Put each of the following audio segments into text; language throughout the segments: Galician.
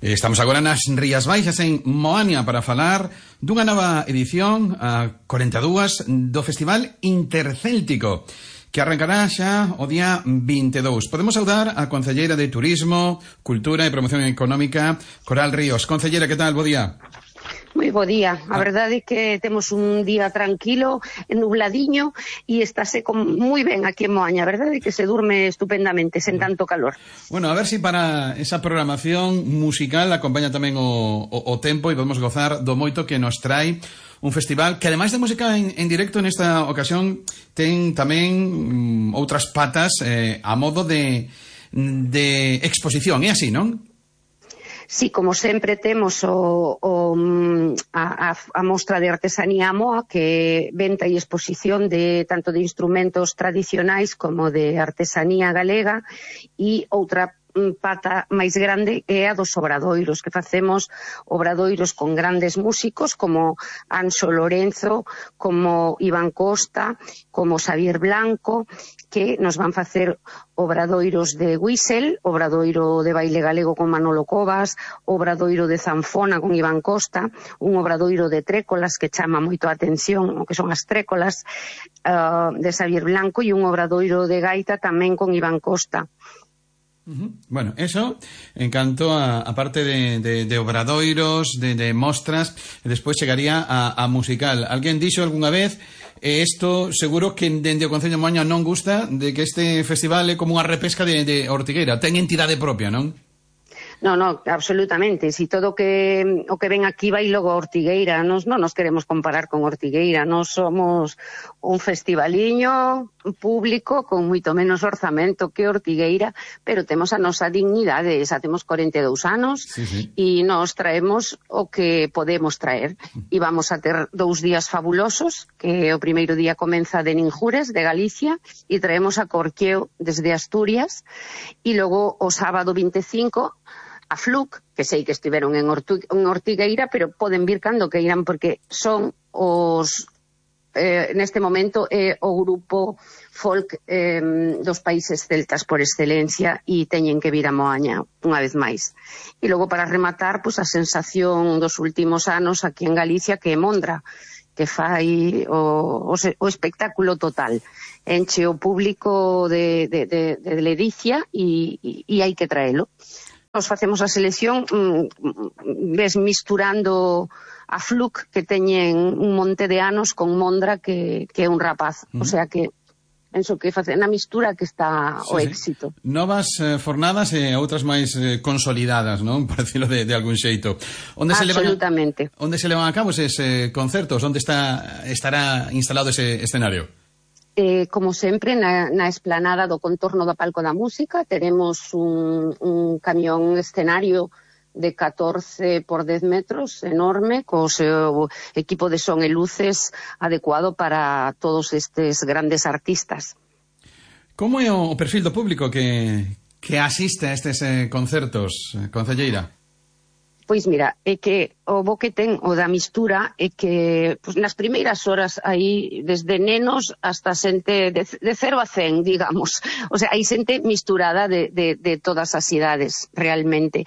Estamos agora nas Rías Baixas en Moaña para falar dunha nova edición, a 42, do Festival Intercéltico, que arrancará xa o día 22. Podemos saudar a concelleira de Turismo, Cultura e Promoción Económica, Coral Ríos. Concelleira, que tal? Bo día. Moi bo día. A verdade é que temos un día tranquilo, nubladiño, e estáse moi ben aquí en Moaña. A verdade é que se durme estupendamente, sen tanto calor. Bueno, a ver si para esa programación musical acompaña tamén o tempo e podemos gozar do moito que nos trae un festival que, ademais de música en directo, nesta ocasión ten tamén outras patas a modo de exposición. É así, non? Sí, como sempre temos a mostra de artesanía Moa, que venta e exposición de tanto de instrumentos tradicionais como de artesanía galega, e outra pata máis grande é a dos obradoiros, que facemos obradoiros con grandes músicos como Anxo Lorenzo, como Iván Costa, como Xavier Blanco, que nos van facer obradoiros de whistle, obradoiro de baile galego con Manolo Covas, obradoiro de zanfona con Iván Costa, un obradoiro de trécolas que chama moito a atención, o que son as trécolas de Xavier Blanco, e un obradoiro de gaita tamén con Iván Costa. Bueno, eso en canto a parte de obradoiros, de mostras, e despois chegaría a musical. Alguén dixo algunha vez, isto seguro que dende o Concello de Moaña non gusta, de que este festival é como unha repesca de Ortigueira, ten entidade propia, non? No, absolutamente. Si todo o que ven aquí vai logo a Ortigueira. Non nos queremos comparar con Ortigueira. Nos somos un festivaliño público con moito menos orzamento que Ortigueira, pero temos a nosa dignidade. Xa temos 42 anos e nos traemos o que podemos traer. E vamos a ter 2 días fabulosos, que o primeiro día comeza de Ninjures, de Galicia, e traemos a Corqueo desde Asturias, e logo o sábado 25 a Fluc, que sei que estiveron en Ortigueira, pero poden vir cando que irán, porque son os neste momento o grupo folk dos países celtas por excelencia, e teñen que vir a Moaña unha vez máis. E logo, para rematar, pues a sensación dos últimos anos aquí en Galicia, que é Mondra, que fai o espectáculo total. Enche o público de ledicia e hai que traelo. Nos facemos a selección, ves, misturando a Fluc, que teñen un monte de anos, con Mondra, que é un rapaz. O sea que penso que facen a mistura que está o éxito. Novas fornadas e outras máis consolidadas, non? Por decirlo de algún xeito. Absolutamente. Onde se levan a cabo eses concertos? Onde estará instalado ese escenario? Como sempre, na esplanada do contorno do Palco da Música teremos un camión escenario de 14 por 10 metros, enorme, co seu equipo de son e luces adecuado para todos estes grandes artistas. Como é o perfil do público que asiste a estes concertos, concelleira? Pois mira, é que o bo que ten o da mistura é que nas primeiras horas aí, desde nenos hasta xente de 0 a 100, digamos. O sea, hai xente misturada de todas as idades, realmente.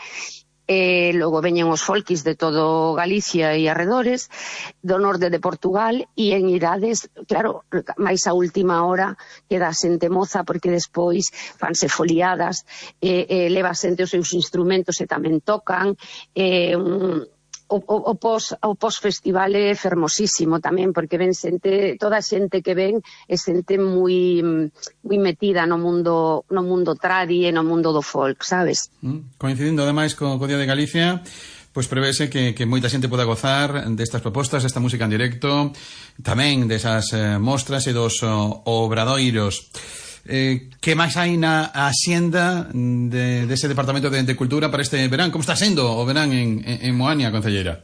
Logo veñen os folkis de todo Galicia e arredores, do norte de Portugal, e en idades, claro, máis a última hora queda xente moza, porque despois fanse foliadas, leva xente os seus instrumentos e tamén tocan. O pós-festival é fermosísimo tamén, porque ven xente, toda a xente que ven é xente moi metida no mundo tradi e no mundo do folk, sabes? Coincidindo ademais co Día de Galicia, pois prevese que moita xente poda gozar destas propostas, desta música en directo, tamén desas mostras e dos obradoiros. Que máis hai na axenda dese Departamento de Cultura para este verán? Como está sendo o verán en Moaña, concelleira?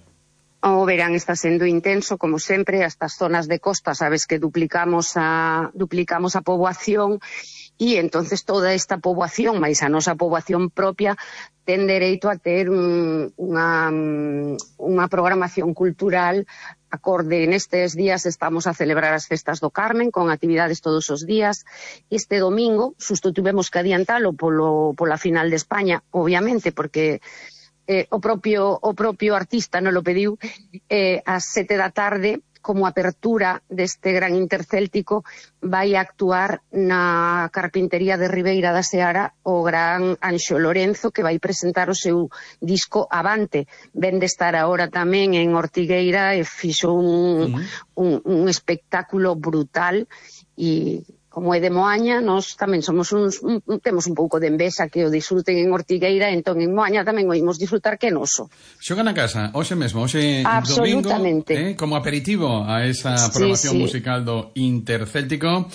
O verán está sendo intenso, como sempre. Estas zonas de costa, sabes que duplicamos a poboación, e entonces toda esta poboación, máis a nosa poboación propia, ten dereito a ter unha programación cultural acorde. Nestes días estamos a celebrar as festas do Carmen, con actividades todos os días. Este domingo, xusto tivemos que adiantalo pola final de España, obviamente, porque o propio artista non lo pediu, ás 7 da tarde, como apertura deste gran intercéltico, vai a actuar na carpintería de Ribeira da Seara o gran Anxo Lorenzo, que vai presentar o seu disco Avante. Ven de estar agora tamén en Ortigueira e fixo un espectáculo brutal, e como é de Moaña, nós tamén temos un pouco de envexa que o disfruten en Ortigueira, entón en Moaña tamén o imos disfrutar que noso. Xogan na casa, hoxe mesmo, hoxe domingo, como aperitivo a esa programación musical do Intercéltico.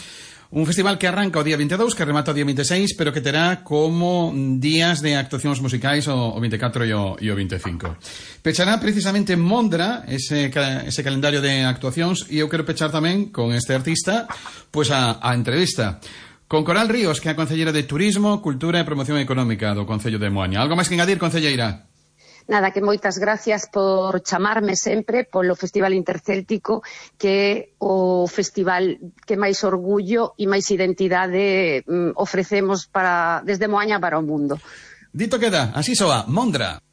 Un festival que arranca o día 22, que remata o día 26, pero que terá como días de actuacións musicais o 24 e o 25. Pechará precisamente Mondra ese calendario de actuacións, e eu quero pechar tamén con este artista pois a entrevista con Coral Ríos, que é a concelleira de Turismo, Cultura e Promoción Económica do Concello de Moaña. Algo máis que engadir, concelleira? Nada, que moitas gracias por chamarme sempre polo Festival Intercéltico, que é o festival que máis orgullo e máis identidade ofrecemos desde Moaña para o mundo. Dito queda, así soa, Mondra.